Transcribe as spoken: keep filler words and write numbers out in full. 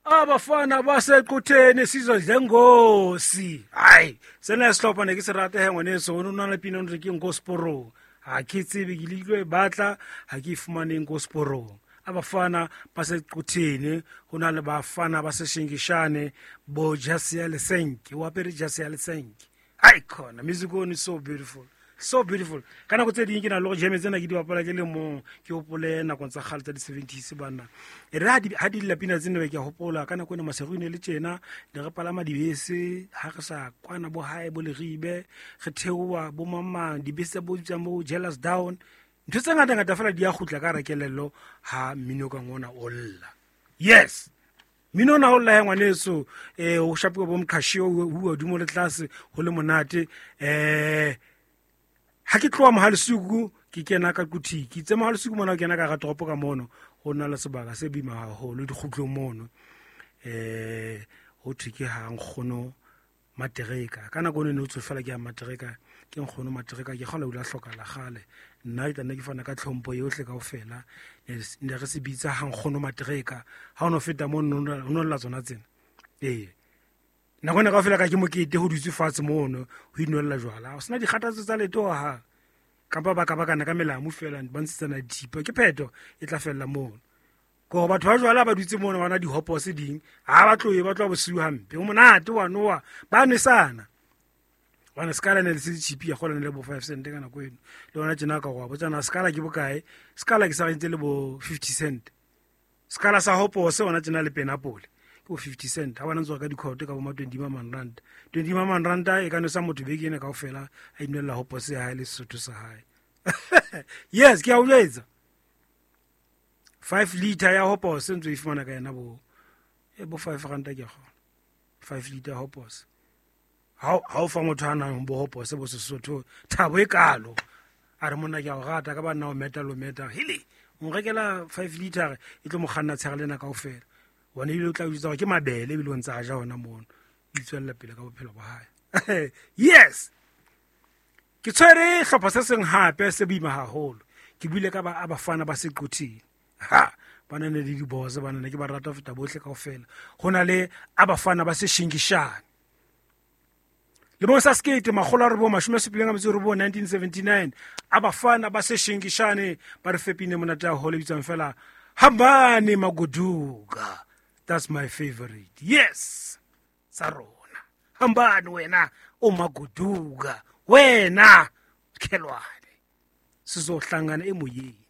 Abafana baseQutheni sizwe dlengosi. Hayi, sena sehlopha ne ke se rata he ngwaneso, o nna le pina o re ke nko seporong. Ha ke tsebe ke le e batla, ha ke e fumane nko seporong. Abafana baseQutheni ho na le bafana ba seshingishane bo jase ya lesenke, o apere jase ya lesenke. Hai khona, music one is so beautiful. So beautiful. Ka nako tse ding ke na le go jeme tsena ke di bapala ke le mong, ke hopole nakong tsa kgale tsa di-seventies banna. E re ha di ha di lla pina tsena be ke a hopola ka nako ena Maseru ne le tjena, ne re palama dibese, ha re sa kwana bo hae bo Leribe, re theoha bo mamang, dibese tsa bo bitswang bo Jealous Down. Ntho tse ngata ngata fela di a kgutla ka hara kelello ha mmino ka ngona o lla. Yes. Mmino ona o lla he ngwaneso, eh o shapuwa bo mqhashio ho hodimo le tlase ho le monate. Eh ha ke tloha Mohalesuku ke kena ka Quthing, ke itse Mohalesuku mona o kena ka hara toropo ka mono, ho na le sebaka se boima haholo dikgutlong mono. Eh ho thwe ke ha nkgono Matereka. Ka nako eno ne ho thwe fela ke ya Matereka, ke nkgono Matereka, ke kgolwa o ile a hlokahala kgale. Nna ke tla nna ke fana ka tlhompho yohle kaofela. Ne re se bitsa ha nkgono Matereka. Ha o no feta mono ho no lla tsona tsena. Ee. Nako ena kaofela ka ke mokete ho dutswe fatshe mono ho inwella jwala. Ho sena dikgathatso tsa letho hohang. Kapa ba ka bakana ka melamu fela ba ntshetsana dithipa. Ke phetho e tla fella mono. Ko batho ba jwala ba dutse mono ba na dihopose ding, ha ba tlohe ba tloha bosiu hampe. Ho monate wa nowa, ba nwesana. Hobane sekala ne le se cheap ya kgola ne le bo five cent ka nako eno. Le hona tjena ka go botsa na sekala ke bokae? Sekala ke sa rentse le bo fifty cent. Sekala sa hopose hona tjena le penapole ke bo fifty cent. Ha bana ntse ka dikhoto ka bo ma twenty man rand. twenty man rand e ka nwesa motho beke ena kaofela a inwella hopose ya hae le Sesotho sa hae. Yes, ke a o jwetsa. five liter ya hopose ntse e fumana ka yena bo e bo five rand ke kgona. five liter hopose. Ha ha o fa motho a nang bo hopose bo Sesotho thabo e kalo. A re monna ke a o rata ka ba nna o meta lo meta. Hele, o nrekela five liter e tlo mo kganna tsheare lena kaofela. Bona ebile o tla o jwetsa hore ke mabele ebile o ntse a ja hona mono. O itswella pele ka bophelo ba hae. Yes. Ke tshwere hlopha se seng hape se boima haholo. Ke buile ka ba abafana ba seQuthing. Ha, ba na le diboze, ba na ke ba rata ho feta bohle kaofela. Ho na le abafana ba seshingishane. Lemong sa sekete makgolo a robong mashome a supileng a metso e robong nineteen seventy-nine, abafana ba seshingishane ba re fepile monate haholo e bitswang fela Hambani Magoduka. That's my favorite. Yes. Tsa rona. Hambani wena o Magoduka. Wena Khelwane. Sizohlangana emoyeni.